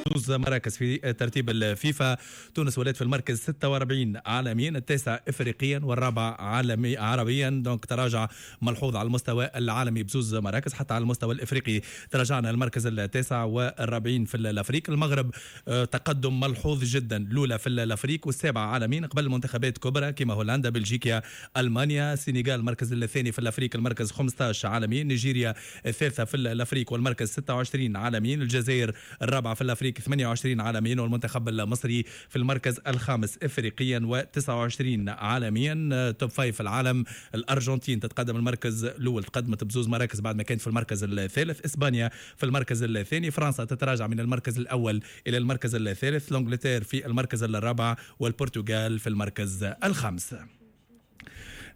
زوز مراكز في ترتيب الفيفا. تونس ولات في المركز 46 عالميا، التاسع افريقيا والرابع عالمي عربيا. donc تراجع ملحوظ على المستوى العالمي بزوز مراكز، حتى على المستوى الافريقي تراجعنا المركز التاسع والرابعين في l'Afrique. المغرب تقدم ملحوظ جدا، الاولى في l'Afrique والسابعه عالميا قبل منتخبات كبرى كما هولندا، بلجيكا، المانيا. السنغال المركز الثاني في l'Afrique، المركز 15 عالميا. نيجيريا الثالثة في l'Afrique والمركز 26 عالميا. الجزائر الرابعة في l'Afrique، 28 عالميا. والمنتخب المصري في المركز الخامس افريقيا و29 عالميا. top five في العالم، الارجنتين تتقدم المركز الاول، تقدمت بزوز مراكز بعد ما كانت في المركز الثالث. اسبانيا في المركز الثاني. فرنسا تتراجع من المركز الاول الى المركز الثالث. l'Angleterre في المركز الرابع والبرتغال في المركز الخامس.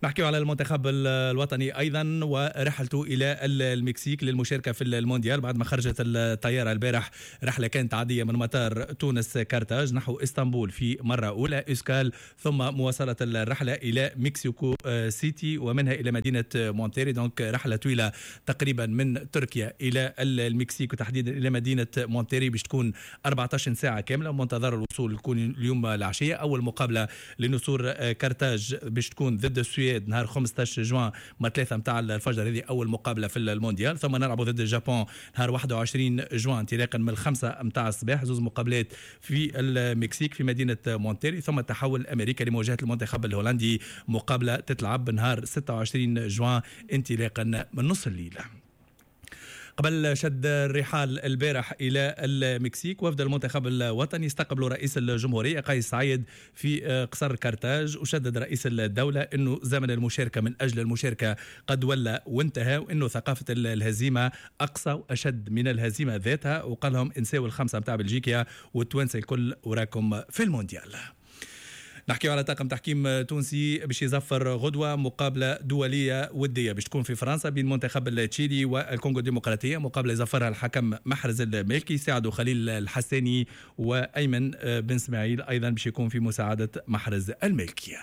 نحكي على المنتخب الوطني ايضا ورحلته الى المكسيك للمشاركة في المونديال بعد ما خرجت الطيارة البارح. رحله كانت عادية من مطار تونس كارتاج نحو اسطنبول في مرة اولى escale، ثم مواصلة الرحلة الى مكسيكو سيتي ومنها الى مدينة مونتيري. donc رحله طويلة تقريبا من تركيا الى المكسيك وتحديدا الى مدينة مونتيري باش تكون 14 ساعة كامله. منتظر الوصول يكون اليوم العشيه. اول مقابله لنسور كارتاج باش تكون ضد السويد نهار 15 جوان مع 3 نتاع الفجر. هذه اول مقابله في المونديال. ثم نلعب ضد اليابان نهار 21 جوان انطلاقا من 5 نتاع الصباح، زوز مقابلات في المكسيك في مدينة مونتيري. ثم تحول امريكا لمواجهة المنتخب الهولندي، مقابله تتلعب نهار 26 جوان انطلاقا من نص الليل. قبل شد الرحال البارح إلى المكسيك، وفد المنتخب الوطني استقبلوا رئيس الجمهورية قيس سعيد في قصر كارتاج. وشدد رئيس الدولة أنه زمن المشاركة من أجل المشاركة قد ولى وانتهى، وأنه ثقافة الهزيمة أقسى وأشد من الهزيمة ذاتها. وقال لهم انساو الخمسة متاع بلجيكا والتوانسة الكل وراكم في المونديال. نحكيو على طاقم تحكيم تونسي باش يزفر غدوه مقابله دولية وديه باش تكون في فرنسا بين منتخب التشيلي والكونغو الديمقراطيه. مقابله يزفرها الحكم محرز المالكي، ساعده خليل الحساني وايمن بن اسماعيل ايضا باش يكون في مساعدة محرز المالكي.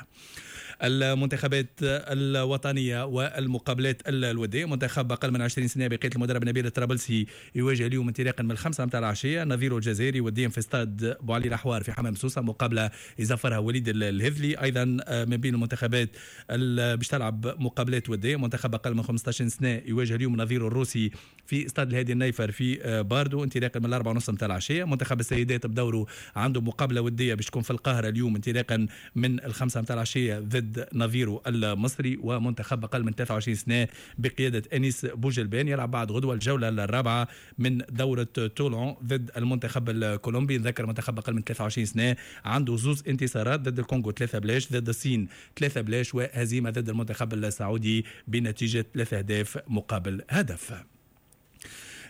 المنتخبات الوطنية والمقابلات الوديه، منتخب اقل من 20 سنة بقيادة المدرب نبيل الطرابلسي يواجه اليوم انطلاقا من 5 متاع العشية نظيره الجزائري وديا في استاد بوعلي الاحوار في حمام سوسه، مقابله يزفرها وليد الهذلي. ايضا من بين المنتخبات باش تلعب مقابلات وديه، منتخب اقل من 15 سنة يواجه اليوم نظيره الروسي في استاد الهادي النيفر في باردو انطلاقا من 4:30 متاع العشيه. منتخب السيدات بدوره عنده مقابله وديه باش تكون في القاهرة اليوم انطلاقا من 5 متاع العشية ضد نظيره المصري. ومنتخب اقل من 23 سنة بقيادة انيس بوجلبان يلعب بعد غدوه الجولة الرابعة من دوره تولون ضد المنتخب الكولومبي. نذكر منتخب اقل من 23 سنة عنده زوز انتصارات، ضد الكونغو 3-0، ضد الصين 3-0، وهزيمة ضد المنتخب السعودي بنتيجة 3 اهداف مقابل هدف.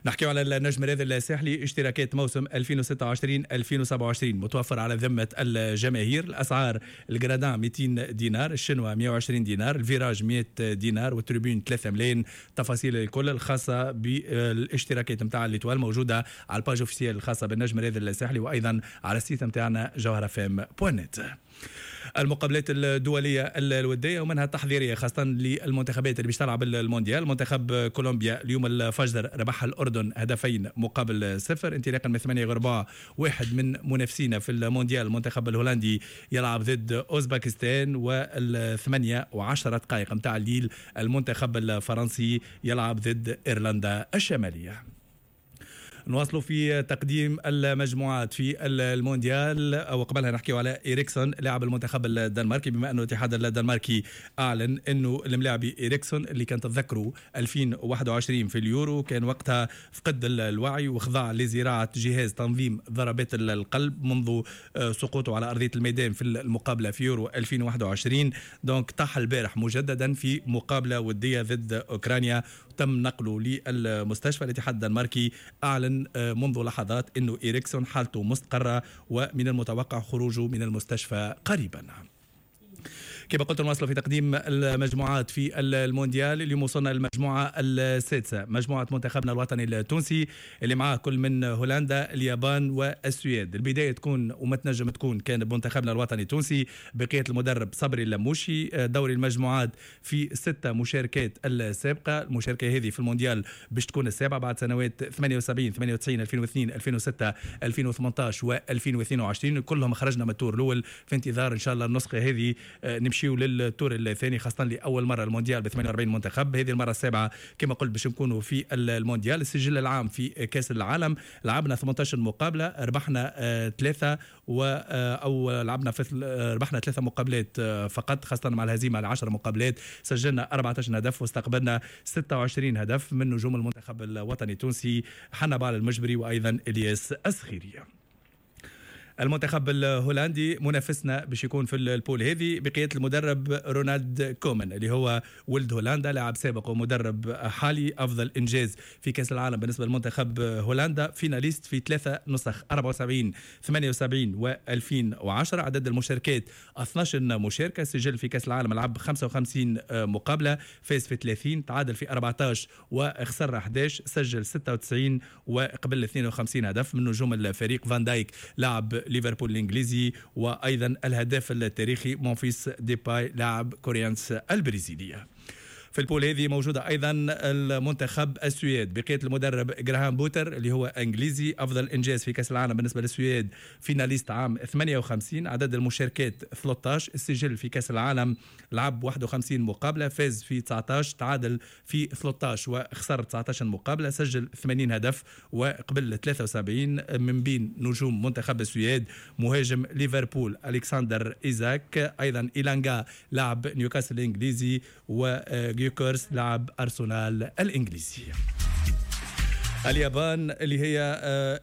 نحكيو على النجم الرياضي الساحلي، اشتراكات موسم 2026 2027 متوفر على ذمة الجماهير. الأسعار: ال gradins 200 دينار، الشنوة 120 دينار، ال virage 100 دينار، وال tribune 3 ملايين. تفاصيل الكل الخاصة بالاشتراكات نتاع l'Étoile موجودة على ال page officielle الخاصة بالنجم الرياضي الساحلي وأيضا على ال site نتاعنا جوهرة FM.net. المقابلات الدولية الودية ومنها التحضيرية خاصة للمنتخبات اللي باش تلعب المونديال. منتخب كولومبيا اليوم الفجر ربح الأردن 2-0. انطلاقا من 8:15 واحد من منافسينا في المونديال المنتخب الهولندي يلعب ضد أوزباكستان، و8:10 متاع الليل المنتخب الفرنسي يلعب ضد إيرلندا الشمالية. نواصلوا في تقديم المجموعات في المونديال، وقبلها نحكيو على إيريكسون لاعب المنتخب الدنماركي، بما أنه الاتحاد الدنماركي أعلن أنه الملاعبي إيريكسون اللي كان تتذكروا 2021 في اليورو كان وقتها فقد الوعي وخضع لزراعة جهاز تنظيم ضربات القلب منذ سقوطه على أرضية الميدان في المقابلة في يورو 2021. donc طاح البارح مجددا في مقابلة ودية ضد أوكرانيا، تم نقله للمستشفى. الاتحاد الدنماركي أعلن منذ لحظات أنه إيريكسون حالته مستقرة ومن المتوقع خروجه من المستشفى قريبا. كما قلت نواصل في تقديم المجموعات في المونديال. اليوم وصلنا للمجموعة السادسة، مجموعة منتخبنا الوطني التونسي اللي معاه كل من هولندا، اليابان والسويد. البداية تكون وما تنجم تكون كان بمنتخبنا الوطني التونسي بقيادة المدرب صبري اللموشي. دوري المجموعات في 6 مشاركات السابقة، المشاركة هذه في المونديال باش تكون السابعة بعد سنوات 78 98 2002 2006 2018 و2022، كلهم خرجنا من ال tour الأول، في انتظار إن شاء الله النسخة هذه نمشيو لل tour الثاني، خاصة لأول مرة المونديال ب 48 منتخب، هذه المرة السابعة كما قلت باش نكونوا في المونديال. السجل العام في كأس العالم لعبنا 18 مقابلة، ربحنا 3 أو لعبنا ربحنا 3 مقابلات فقط، خاصة مع الهزيمة على 10 مقابلات، سجلنا 14 هدف واستقبلنا 26 هدف من نجوم المنتخب الوطني التونسي حنبعل المجبري وأيضا إلياس السخيري. المنتخب الهولندي منافسنا باش يكون في ال poule هذه بقيادة المدرب رونالد كومان اللي هو ولد هولندا، لاعب سابق ومدرب حالي، أفضل إنجاز في كأس العالم بالنسبة للمنتخب هولندا، finaliste في 3 نسخ 74 78 و2010، عدد المشاركات 12 مشاركة، سجل في كأس العالم لعب 55 مقابلة، فاز في 30، تعادل في 14 وخسر 11، سجل 96 وقبل 52 هدف. من نجوم الفريق فان دايك لاعب ليفربول الإنجليزي، وأيضا الهداف التاريخي مونفيس ديباي لاعب كوريانس البرازيلية. في ال poule هذه موجودة أيضا المنتخب السويد بقيادة المدرب جراهام بوتر اللي هو إنجليزي، أفضل إنجاز في كأس العالم بالنسبة للسويد، finaliste عام 58، عدد المشاركات 13، السجل في كأس العالم لعب 51 مقابلة، فاز في 19، تعادل في 13 وخسر 19 مقابلة، سجل 80 هدف وقبل 73. من بين نجوم منتخب السويد مهاجم ليفربول ألكسندر إيزاك، أيضا إيلانغا لاعب نيوكاسل الإنجليزي، و جيوكورس لاعب أرسنال الإنجليزي. اليابان اللي هي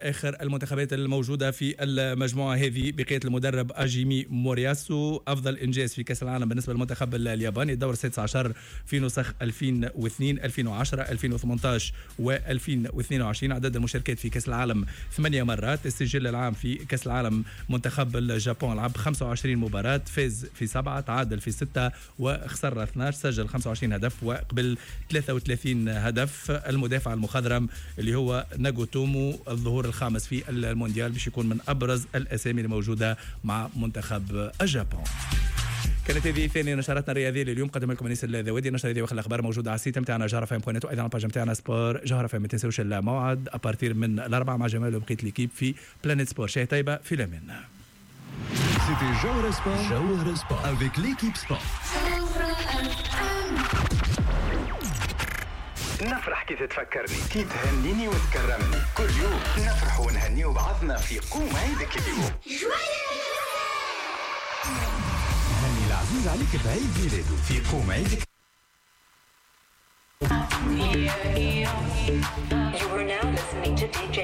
آخر المنتخبات الموجودة في المجموعة هذه بقيادة المدرب أجيمي مورياسو، أفضل إنجاز في كأس العالم بالنسبة للمنتخب الياباني، الدور 16 في نسخ 2002 2010 2018 و2022، عدد المشاركات في كأس العالم 8 مرات، السجل العام في كأس العالم منتخب اليابان لعب 25 مباراة، فاز في 7، تعادل في 6 وخسر 12، سجل 25 هدف وقبل 33 هدف. المدافع المخضرم اللي هو ناغوتومو، الظهور الخامس في المونديال، باش يكون من أبرز الأسامي الموجودة مع منتخب اليابان. كانت هذه ثاني نشراتنا الرياضية لليوم، قدم لكم انيس الذوادي. النشرة هذه واخر الاخبار موجودة على ال site نتاعنا جوهرة FM point net، وايضا على ال page نتاعنا sport جوهرة FM. ما تنساوش الموعد à partir من 4 مع جمال وبقية l'équipe في Planète Sport. شاي طيبة في الامان. C'était Jawhara Sport, Jawhara Sport avec l'équipe sport. نفرح كي تتفكرني، كي تهنيني وتكرمني، كل يوم نفرح ونهنيو بعضنا في قوم عيدك اليوم. هني العزيز عليك بعيد ميلاده في قوم عيدك. You are now listening to DJ